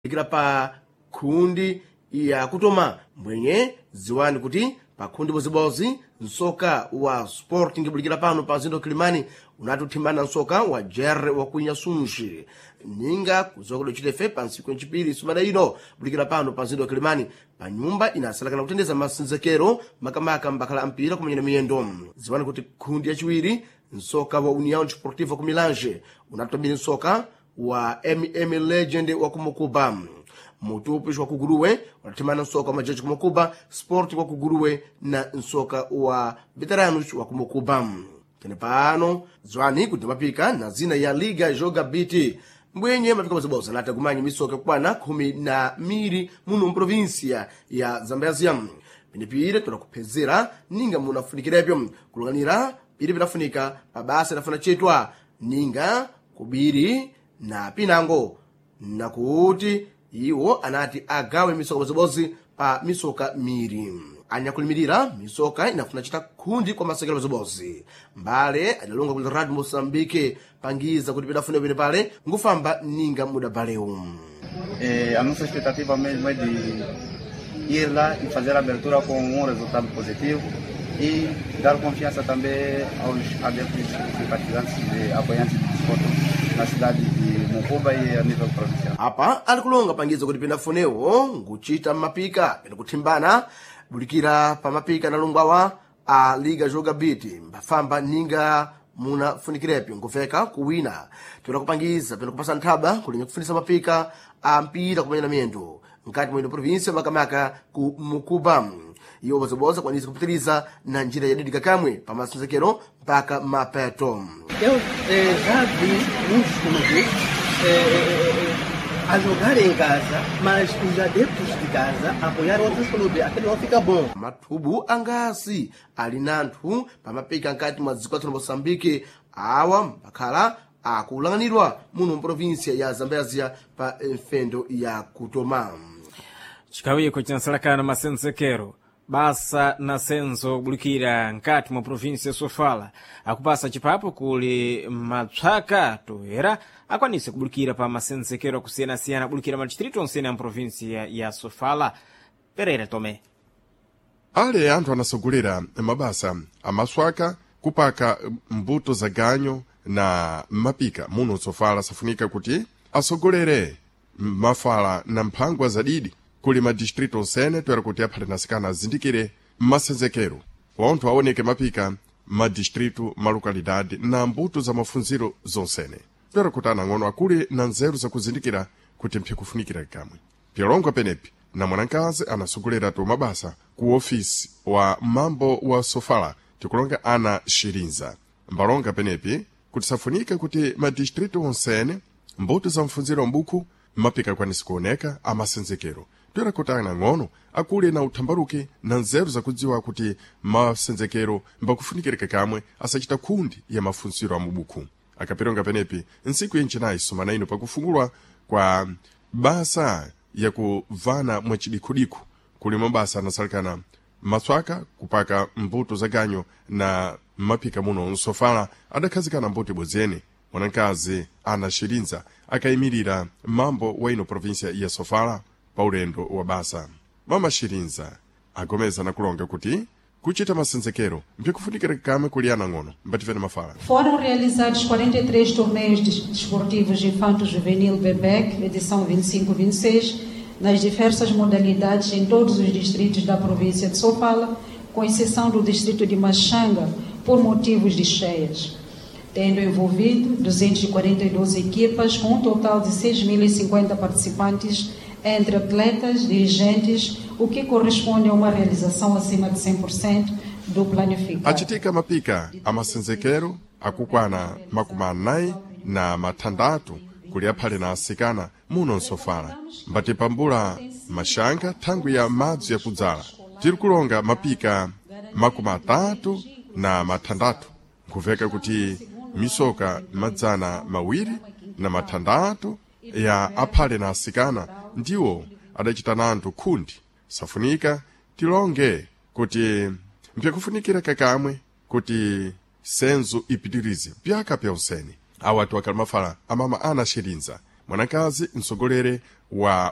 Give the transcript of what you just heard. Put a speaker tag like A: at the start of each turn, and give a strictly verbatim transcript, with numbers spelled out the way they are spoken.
A: Ikira pa khundi ya kutoma mbwenye ziwani kuti pa khundi bozibozi nsoka wa Sporting bulikira pano pa zindo Kilimani unati uthimbana nsoka wa Jerry wa kuinya Sunji ninga kuzokodo chitefe pa ntsiku yancipiri sumana ino bulikira pano pa zindo Kilimani pa nyumba inasalakana kutendeza masinzekero makamaka mbakhala ampira kumenyana miyendo. Ziwani kuti khundi yaciwiri nsoka wa União Desportiva ku Milange unatambiri nsoka wa M M Legend wa kumukuba mutupi wa kuguruwe unathimana nsoka wa majaji kumukuba Sport wa kuguruwe na nsoka wa Veteranos wa kumukuba. Tene pano zwani kuti mapika na zina ya Liga Joga Biti mbwenye mapika maziboza nati akumanya misoka kukwana khumi na miri muno mprovinsia ya Zambezia. Pinipire tunakuphezera ninga munafunikirepyo kulunganira piri pinafunika pabasa inafuna chetwa ninga kubiri na pinango nakuti iwo anati agawe misoka bozibozi pa misoka miri anyakulimirira misoka inafuna chita khundi kwa masekelo bozibozi mbale adalonga kuti Radio Moçambique pangiza kuti pidafuna pene pale ngufamba ninga mudabalewu.
B: Eh, a nossa expectativa mesmo é de ir lá e fazer a abertura com um resultado positivo e dar confiança também aos adeptos, simpatizantes e apoiantes do desporto na cidade de Mocuba e a nível provincial.
A: Apa alikulonga pangiza kuti pinafunewo nguchita mmapika pene kuthimbana bulikira pa mapika analungwawa a Liga Joga Biti mbafamba ninga munafunikirepo ngufeka kuwina tuna kupangiza pene kupasa nthaba kulinya kufunisa mapika a mpira kumenya na miyendo mkati mwino provinsia makamaka ku Mukuba. Iwo bozoboza kwanisa kupitiriza na njira yadidika kamwe pa masenzekero mpaka mapeto.
C: Eu eh, já vi muitos clubes eh, eh, a jogar em casa, mas os adeptos de casa apoiar outros clubes. Aquilo não fica bom.
A: Mathubu angasi ali nanthu pamapika nkati mwa dziko lathu la Moçambique awa mbakhala akulanganidwa muno mprovinsia ya Zambezia pa mfendo ya kutoma.
D: Chikawiko cinasalakana masenzekero basa na senzo kubulikira nkati mwa provinsi ya Sofala akupasa chipapo kuli mapsaka toera akwanise kubulikira pa masenzekero akusiyana-siyana kubulikira madistritu onsene a mprovinsi ya, ya Sofala. Pereira Tome.
E: Ale anthu anasogolera mabasa amaswaka kupaka mbuto za ganyo na mapika muno Sofala safunika kuti asogolere mafala na mphangwa zadidi kuli madistritu onsene toera kuti aphale nasikana azindikire masenzekero pontho aoneke mapika madistritu malokalidade na mbuto za mafunziro zonsene toera kuti anang'ono akule na nzeru zakuzindikira kuti mphikufunikira kamwe pyalongo penepi na mwanakazi anasogolera to mabasa ku ofisi wa mambo wa Sofala tikulonga ana Shirinza mbalonga penepi kuti safunike kuti madistritu onsene mbuto za mfunziro mbuku mapika akwanise kuoneka amasenzekero toera kuti anang'ono akule na uthambaruke na nzeru zakudziwa kuti masenzekero mbakufunikirika kamwe asachita khundi ya mafunziro a mubuku. Akapironga penepi ntsiku yencenayi sumana ino pakufungulwa kwa basa yakuvana mwacidikhudiku kuli mabasa anasalikana maswaka kupaka mbuto za ganyo na mapika muno Nsofala adakhazikana mbuto ibozene mwanakazi ana Shirinza akayimirira mambo wa ino provinsia ya Sofala pa ulendo wa basa. Mama Shirinza agomeza na kulonga kuti kuchita masenzekero mpikufunikira kamwe kuli anang'ono mbativene mafala.
F: Foram realizados quarenta e três torneios desportivos infanto-juvenil B B E C, edição vinte e cinco vinte e seis, nas diversas modalidades em todos os distritos da província de Sofala, com exceção do distrito de Machanga, por motivos de cheias, tendo envolvido duzentas e quarenta e duas equipas, com um total de seis mil e cinquenta participantes, entre atletas, dirigentes, o que corresponde a uma realização acima de cem por cento do planificado.
E: Achitika mapika amasenzekero akukwana makumi anayi na mathandatu kuli aphale na asikana muno Nsofala mbatipambula maxanga thangwi ya madzi yakudzala tiri kulonga mapika makumi atatu na mathandatu nkuveka kuti misoka madzana mawiri na mathandatu ya aphale na asikana ndiwo adachita nanthu khundi. Safunika tilonge kuti mpyakufunikira kakamwe kuti senzo ipitirize pyaka pya usene. Awa atu akali mafala amama ana Shirinza mwanakazi msogolere. wa